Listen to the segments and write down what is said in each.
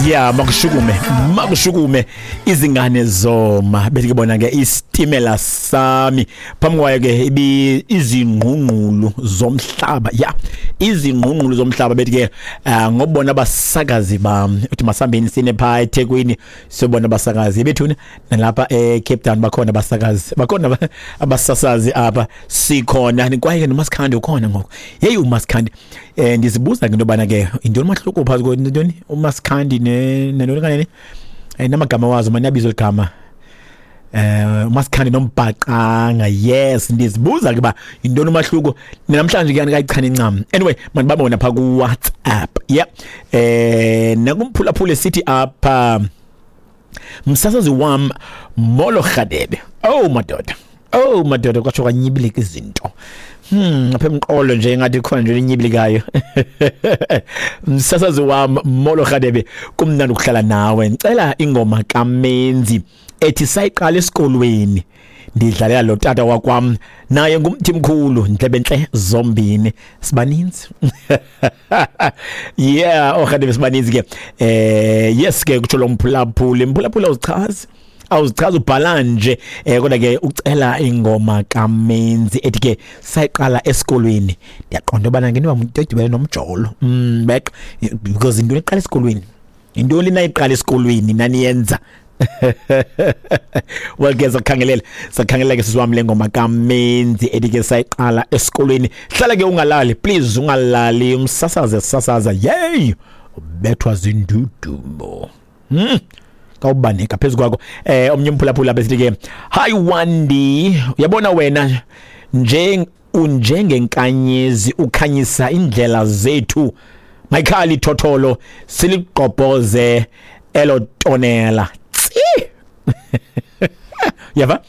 Ya, makushukume, makushukume izingane zoma. Bethi ke bona ke isitimela sami. Phambi kwayo ke ibi izingqungqulu zomhlaba. Ya, izingqungqulu zomhlaba bethi ke ngobona abasakazi bam. Uthi masambeni sine pha eThekwini siyobona abasakazi bethuna nalapha eCape Town bakhona abasakazi, bakhona abasasazi apha sikhona. Kwaye ke noMasikhandi ukhona ngoku. Hey, uMasikhandi, ndizibuza ke into yobana ke yintoni umahluko phakathi kwentoni uMasikhandi nentoni kanene, namagama wazo mani abizwe ligama uMasikhandi nombhaqanga. Yes, ndizibuza ke ba yintoni umahluko namhlanje ke andikayichani incam. Anyway, mandibabona pha ku WhatsApp. Yeah, nakumphulaphula sithi apha msasazi wam, molo Rhadebe. Oh madoda, oh madoda, kwatsho kwanyibilika izinto. Apha emqolo nje ngathi khona nje linyibilikayo. Msasazi wam, molo Rhadebe, kumnandi ukuhlala nawe. Ngicela ingoma kaMenzi ethi sayiqala esikolweni, ndidlalela lo tata wakwam, naye ngumthi mkhulu, ndlebe ntle zombini. Sibaninzi. Yeah, oh Rhadebe, sibaninzi ke. Yes ke kutsho lo mphulaphuli. Mphulaphuli awuzichazi, awuzichazi, ubhala nje, kodwa ke ucela ingoma kaMenzi ethi ke sayiqala esikolweni. Ndiyaqonda ubana ngento edibene nomjolo, bek because into eqala esikolweni, intoni nayiqala esikolweni naniyenza. Well ke sakhangelela, sakhangelela ke sisiwam le ngoma kaMenzi ethi ke sayiqala esikolweni. Hlala ke ungalali, please ungalali, umsasaze sasaza. Yey, ubethwa zindudumo. Kawubaneka phezu kwakho. Omnye umphulaphula besithi ke hi Wandi, uyabona wena nje unjengenkanyezi ukhanyisa indlela zethu. Mayikhali thotholo siligqobhoze elo tonela. Tsi. Yava?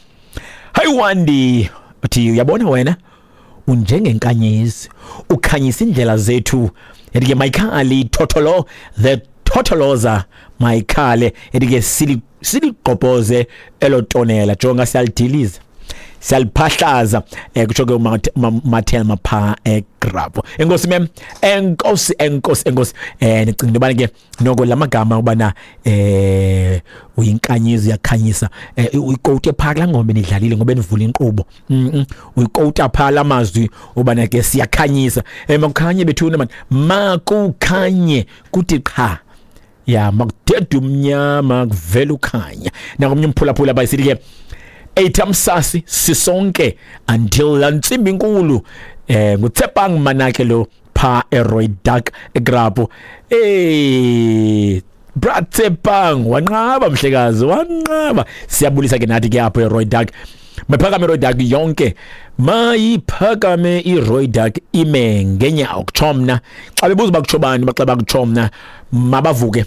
Hi Wandi, uthi uyabona wena unjengenkanyezi ukhanyisa indlela zethu. Ethi ke mayikhali thotholo, the thotholoza mayikhale, ethi ke siligqobhoze elo tonela. Jonga siyalidiliza, siyaliphahlaza. Kutsho ke uMathelma pha eGrabo. Enkosi mem, enkosi, enkosi, enkosi. Ndicinga into yobana ke noko la magama ubana uyinkanyezi uyakhanyisa, uyikowute phaa kulaa ngoma enidlalile ngoba enivula inkqubo. Uyikowuta phaa la mazwi ubana ke siyakhanyisa. Makukhanye bethuna man, makukhanye kuthi qha. Ya, makudede umnyama kuvela ukhanya. Nakomnye umphulaphula bayisithi ke eyithamsasi sisonke until la ntsimbi inkulu. Ngutsepang Manake lo pha eRoy Duck eGrapo. Bra Tsepang wanqaba mhlekazi, wanqaba. Siyabulisa ke nathi ke apho eRoy Duck. Mayiphakame iRoy Duck yonke, mayiphakame iRoy Duck ime ngenyawo kutsho mna. Xa bebuza uba kutsho bani, baxa bakutsho mna, mabavuke,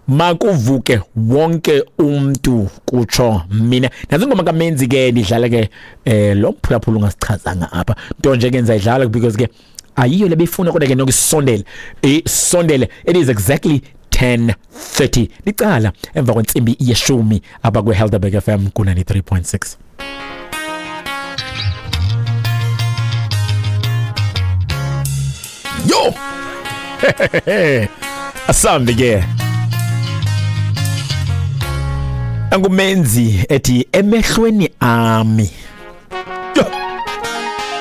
makuvuke wonke umntu kutsho mina. Nazo ingoma kaMenzi ke ndidlala ke lo mphulaphula ungasichazanga apha nto nje ke ndizayidlala because ke ayiyo le beyifuna, kodwa ke noko isondele, isondele. It is exactly 10:30, licala emva kwentsimbi yeshumi apha kwiHelderberg FM ku-93.6. Yo! Asambe ke. Angumenzi ethi emehlweni ami.